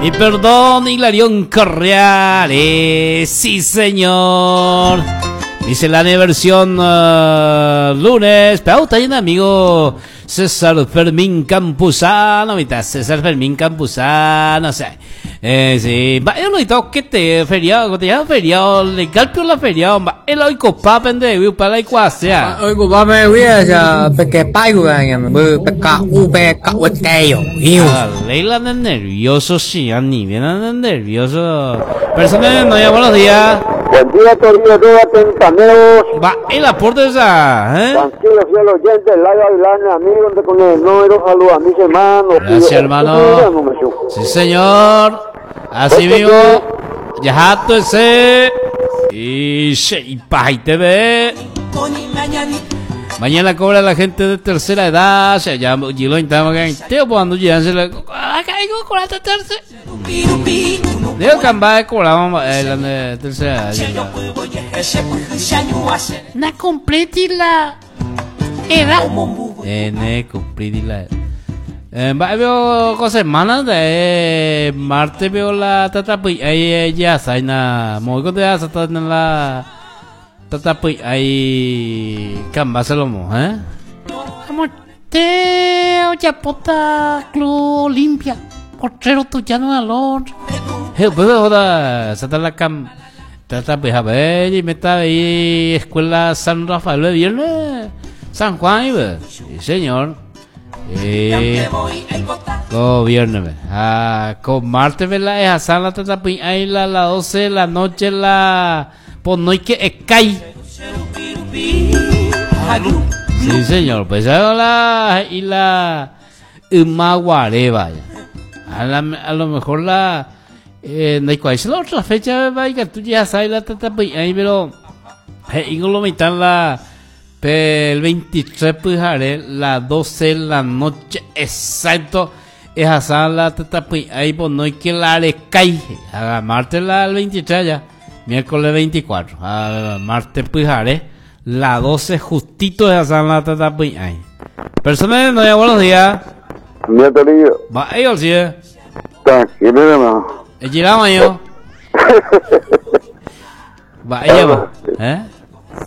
Y perdón, Hilarión Correales. Sí, señor. Miscelánea versión lunes. Pero está bien, amigo César Fermín Campuzano. Mitad César Fermín Campuzano. O sea, sí. Va, yo no he que te feriado, te llamo feriado, legal pero la feriado, va, el oikopa pende, para la iguacea. Oikopa me voy a peque paigo, peca u peca u teo. Leila anda nervioso, sí, ni bien anda nervioso. Personas no, ya buenos días. Buen día, querido Dúa Tentaneros. Va, el aporte esa, ¿eh? Tranquilo, fiel oyente, Layo Avilán, amigo, donde con el número, saludos a mis hermanos. Gracias, hermano. Sí, señor. Así mismo. Ya ese. Y y TV. Mañana cobra la gente de tercera edad. Se llama Gilo que teo cuando ya se le caigo con la tercera. Digo que amba cobramos la de tercera edad. Na completi la edad. Ne completi la va veo cosa semana de martes veo la tata pues ahí ya saina muy con de hasta la tata pues ahí camba se lo mo, ¿eh? Amor, te oye Club Olimpia, portero tuyano al Hey, pues joda, sata la cam tata pues a ver y me está ahí escuela San Rafael de viernes San Juan y sí señor. Go viernes, ah, con martes, ¿verdad? Es a la tata ahí la 12 de la noche la pues no hay que cae. Sí, señor, pues la y la Imaguare, vaya. A lo mejor la no hay cuál es la otra fecha, vaya, tú ya sabes la tata ahí, pero lo mitad la el 23 pues haré la 12 de la noche exacto es asá la tata ahí pues no hay que la cae a martes la el 23 ya miércoles 24 a martes pues haré la 12 justito es asá la tata ahí. Personas no ya buenos días. Va ellos sí. Tranquilo, hermano. El yo. Va ella va, ¿eh?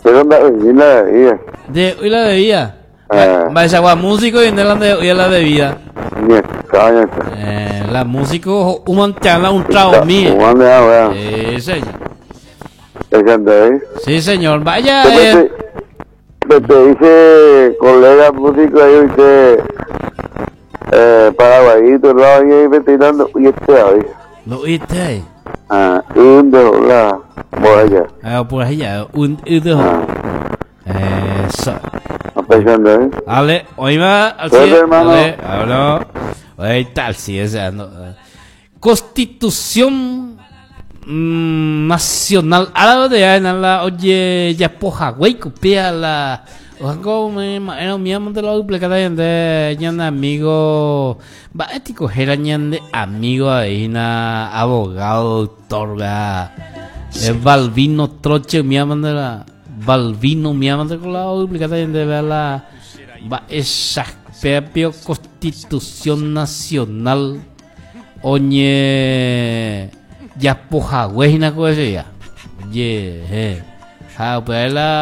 Pero la bebida. De hoy la bebida. Va esa agua músico y en de hoy la bebida. La músico un un trago mío. Sí, señor. Sí, señor. Vaya. Te dice colega músico ahí usted paraguayito, lo ahí ventilando y este ahí. Lo oíste ahí. Ah, un de la por allá. Ah, por allá, un de eso. Pensando, ¿eh? Ale, hoy va al cielo. Ale, hablo. Ahí tal, sí, esa no. Constitución Nacional Árabe de la oye ya poja güey copia la ojo me era mi amo de la duplicada de ñan amigo va ético era ñan de amigo ahí na abogado doctor va es Balbino Troche mi amo de la Balbino mi amo de la duplicada de la va esa propia Constitución Nacional oñe ya poja güey na cosa ya. Ye, ja, pues la